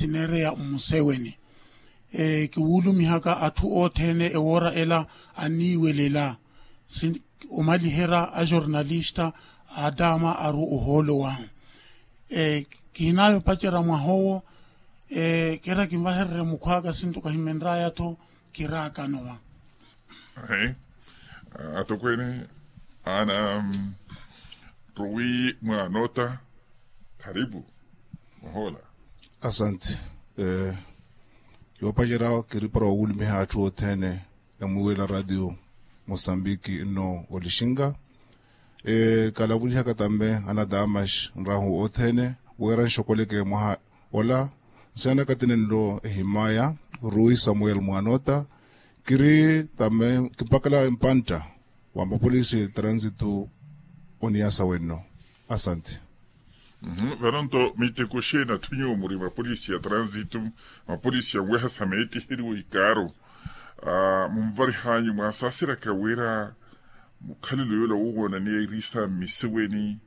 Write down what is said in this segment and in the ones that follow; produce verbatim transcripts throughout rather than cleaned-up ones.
sineereya mmuseweni. Kiwuulumihaka atthu othene ewoora ela anniiwelela, omaliherya ajornalista aataama aru ohoolo wahu. Kihinaayo opacerya mwaha owo. Keera kinvahererye mukhw'aka sinto kahimenr'aya-tho. Kiraakanowa. Atokweene ana rowi mwaanota. Karipu. Mwaha ola. Asanti. Yoopacerya kiri para owulumiha atthu othene emwiiwela ratio mosambiki nno olixinka. Kalavulihaka tambe ana damas nrahu othene wira nxokoleke mwaha ola. Nsiyanaka tini nlo ehimaya rui samuel mwanota. Kiri tambe kipakala empantta wa mapolisi ya transitu. Oniyasa wenno. Asanti. Vano nto miteko xeeni atthu nyuwo muri mapolisi ya transitu, mapolisi ya nweha sa meettiheriwa ikaaro, munvarihanyu mwaasaseraka wira mukhalelo yoola woowoonaniya irisa mmiseweni?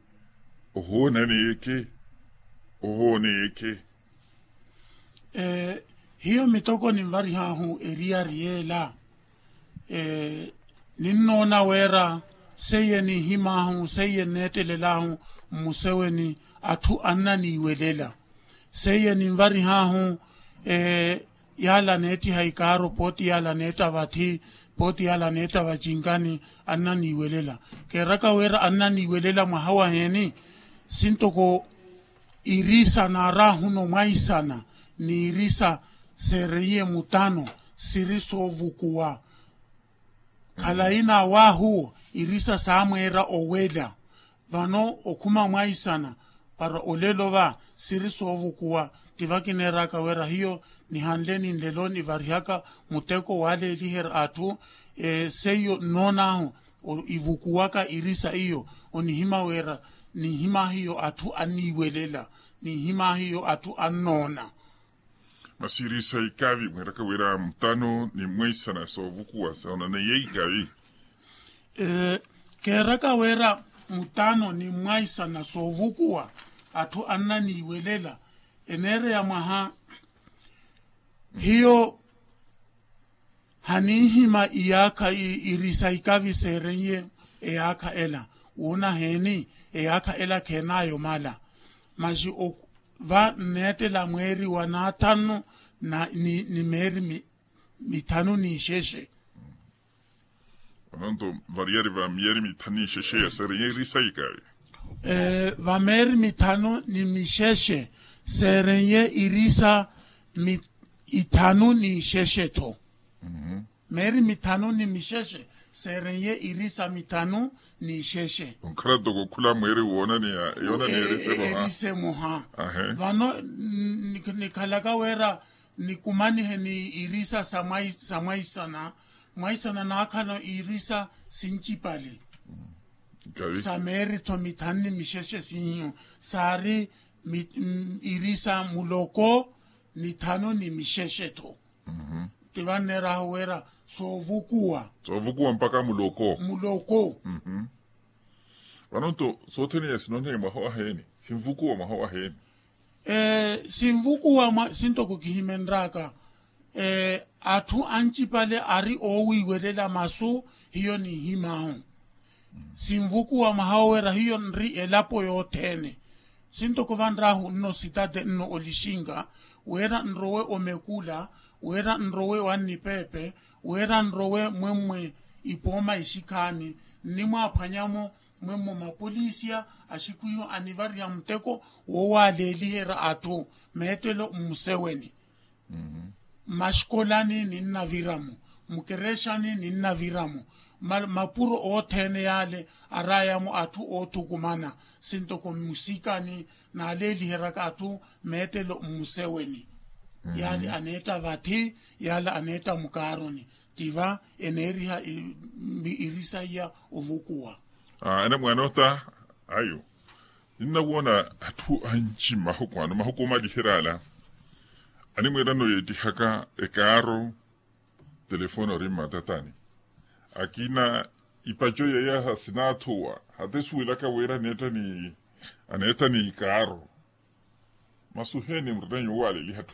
Ohoonaneyeke. Ohooneyeke. Hiyo mitoko ninvarihaahu eriyari yeela. Ninnoona wira seiye ninhimaahu seiye nneettelelaahu mmuseweni atthu annaniiwelela. Seiye ninvarihaahu yaala aneettiha ikaaro pooti yaala aneetta vathi, pooti yaala aneetta vacinkani annaniiwelela. Keeraka wira annaniiwelela mwaha waheeni? Sintoko irisa naaraahuno mwaisana n'irisa seereiye mutano siri soovukuwa. Khalayi n'awaahuwo irisa saamweera owela. Vano okhuma mwaisana para olelo va siri soovukuwa. Ti vakineeraka wira hiyo nihanle ni nlelo nivarihaka muteko waaleeliherya atthu. Seiyo nnoon'ahu ivukuwaka irisa iyo onihima wira ninhimaahiyo atthu anniiwelela, ninhimaahiyo atthu annoona. Masi irisa ikavi mweeraka wira mutano ni mweisana soovukuwa soonaneiye ikavi. Keeraka wira mutano ni mwaisana soovukuwa atthu annaniiwelela eneereya mwaha. Hiyo haninhima iyaakha irisa ikavi seereiye eyaakha ela. Wuuna heeni? Eyaakha ela kheenaayo mala. Masi va nneettela mweeri wa naathannu ni meeri mithanu n'ixexe. Ononto variyari va miyeeri mithanu n'ixexe ya seereiye irisa ikavi. Va meeri mithanu ni mixexe seereiye irisa ithanu n'ixexe-tho. Meeri mithanu ni mixexe seereiye irisa mithanu n'ixexe. Onkhala toko okhula mweeri woonaneya yoonaneya erise moha. Vano nikhalaka wira nikumanihe ni irisa sa mwaisana. Mwaisana naakhala irisa sincipale sa meeri-tho mithanu ni mixexe siiyo saari irisa muloko nithanu ni mixexe-tho. Ti vanneerahu wira soovukuwa. Soovukuwa mpakha muloko. Muloko. Vano nto sothene ya sinoneye mwaha waheeni? Sinvukuwa mwaha waheeni? Sinvukuwa mwa sintoko kihimenraka. Atthu ancipale ari oowiiwelela masu hiyo ninhimaahu. Sinvukuwa mwaha wowera hiyo nri elapo yothene. Sintoko vanrahu nno sitade nno olixinga wira nrowe omekula wira nrowe wannipepe wira nrowe mwemmwe ipooma ixikhaani nnimwaaphwanyamo mwemmwe mapolisiya axikhwiho anivariha muteko woowaaleeliherya atthu meettelo mmuseweni. Mmaxikolani ninnaviramo mukerexani ninnaviramo mapuro othene yale arayamo atthu oothukumana sintoko mmusikani naaleeliheryaka atthu meettelo mmuseweni. Yale aneetta vathi yale aneetta mukaaroni tiva eneeriha irisa iya ovukuwa. Ene mwaana ota ayo ninnawoona atthu anci mmahuku ano mahuku omaliherya ala animweerano yeettihaka ekaaro telefoni ori mmatatani akina ipaco yeeya sinaathuwa hata esuwelaka wira aneetta ni ikaaro. Masuheni murina nyuwo waaleliha atthu